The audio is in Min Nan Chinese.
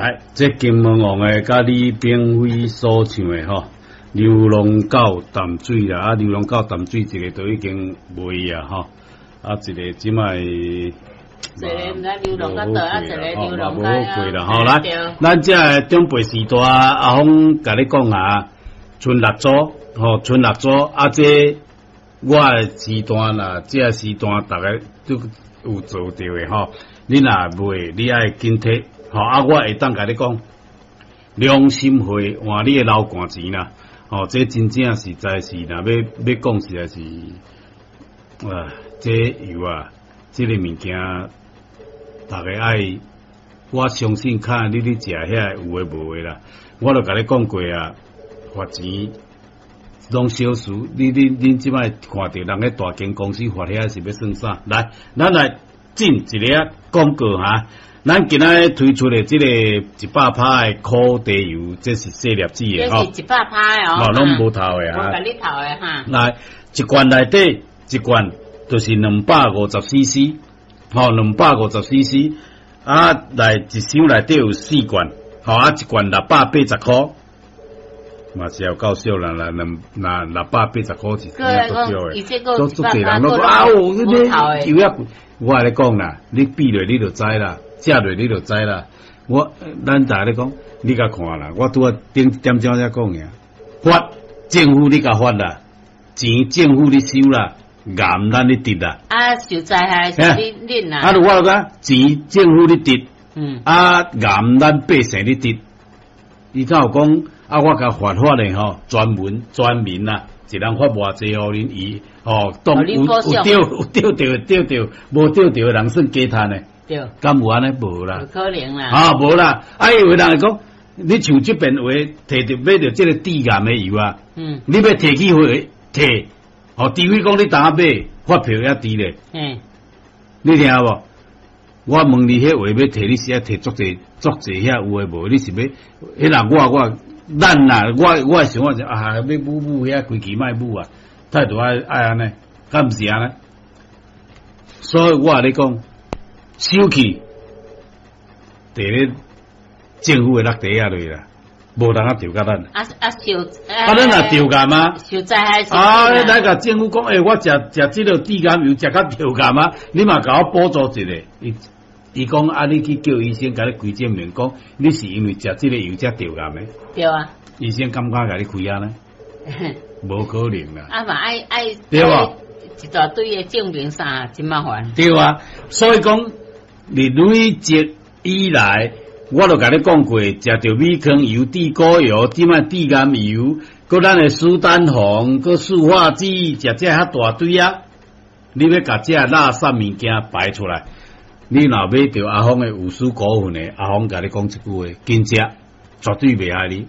來，這金門王的佮李炳輝所唱的吼，流浪到淡水啦，啊，流浪到淡水一个都已經賣啊，吼，啊，一個這擺一个毋知流浪到佗，啊，一個流浪無好過啦，吼，來，咱這个長輩時代，阿峰共你講啊，春蠟燭，吼，春蠟燭，啊，這我的時段啦，這個時段逐家都有做著的吼，你若賣，你愛緊提。吼啊！我會當共你講，良心會換你的流汗錢啦。吼，這真正實在是，若欲欲講實在是，啊，這油啊，這个物件，逐家愛，我相信看你咧食遐有的無的啦。我都共你講過啊，罰錢攏小事。你你恁這擺看著人咧大間公司罰遐是欲算啥？來，咱來進一个廣告哈。咱今仔推出的這个100趴的苦茶油，這是細粒子的吼，這是100趴的哦，攏無頭的哈。無共你頭的哈。來，一罐內底一罐就是250 CC，吼，250 CC，啊，來一箱內底有四罐，吼，啊，一罐680箍，嘛是有夠少啦，啦兩那680塊是足少的，足足濟人攏講啊，有你油仔貴，我共你講啦，你比落你就知啦。食落你就知啦，我咱逐家咧講，你共看啦，我拄仔頂點鐘才講爾，罰政府你共罰啦，錢政府咧收啦，癌咱咧得啦。啊，受災害是恁恁啦。啊，我講錢政府咧得，啊，癌咱百姓咧得。伊才有講啊，我共發發的吼，專門專門啦，一人發偌濟予恁伊吼，當有有著有著著著著，無著著的人算加趁的。對，敢有按呢？無啦，無可能啦。啊，無啦！啊，有的人會講，你像這邊話，提著買著這个致癌的油啊，你欲提去去提，哦，除非講你當買發票也佇咧。你聽無？我問你，彼話欲提，你是愛提足濟足濟遐有的無？你是欲？彼若我我咱啊，我我的想法是啊，欲舞舞遐規氣莫舞啊，態度愛愛按呢，敢毋是按呢？所以我共你講。收去，佇咧政府的落地仔落啦，無人啊著共咱。啊啊受啊，咱若著癌啊？受災害是。啊，你來共政府講，欸，我食食這个致癌油，食甲著癌啊？你嘛共我補助一下。伊伊講啊，你去叫醫生共你開證明，講你是因為食這个油才著癌的。對啊。醫生敢敢共你開按呢？無可能啦。啊嘛愛愛對無？一大堆的證明啥，真麻煩。對啊，所以講。你累積以來，我都共你講過，食著米糠油、地溝油，這擺致癌油，閣咱的蘇丹紅，閣塑化劑，食這遐大堆啊！你欲共這垃圾物件排出來，你若買著阿峰的有輸股份的，阿峰共你講一句話，緊食，絕對袂害你。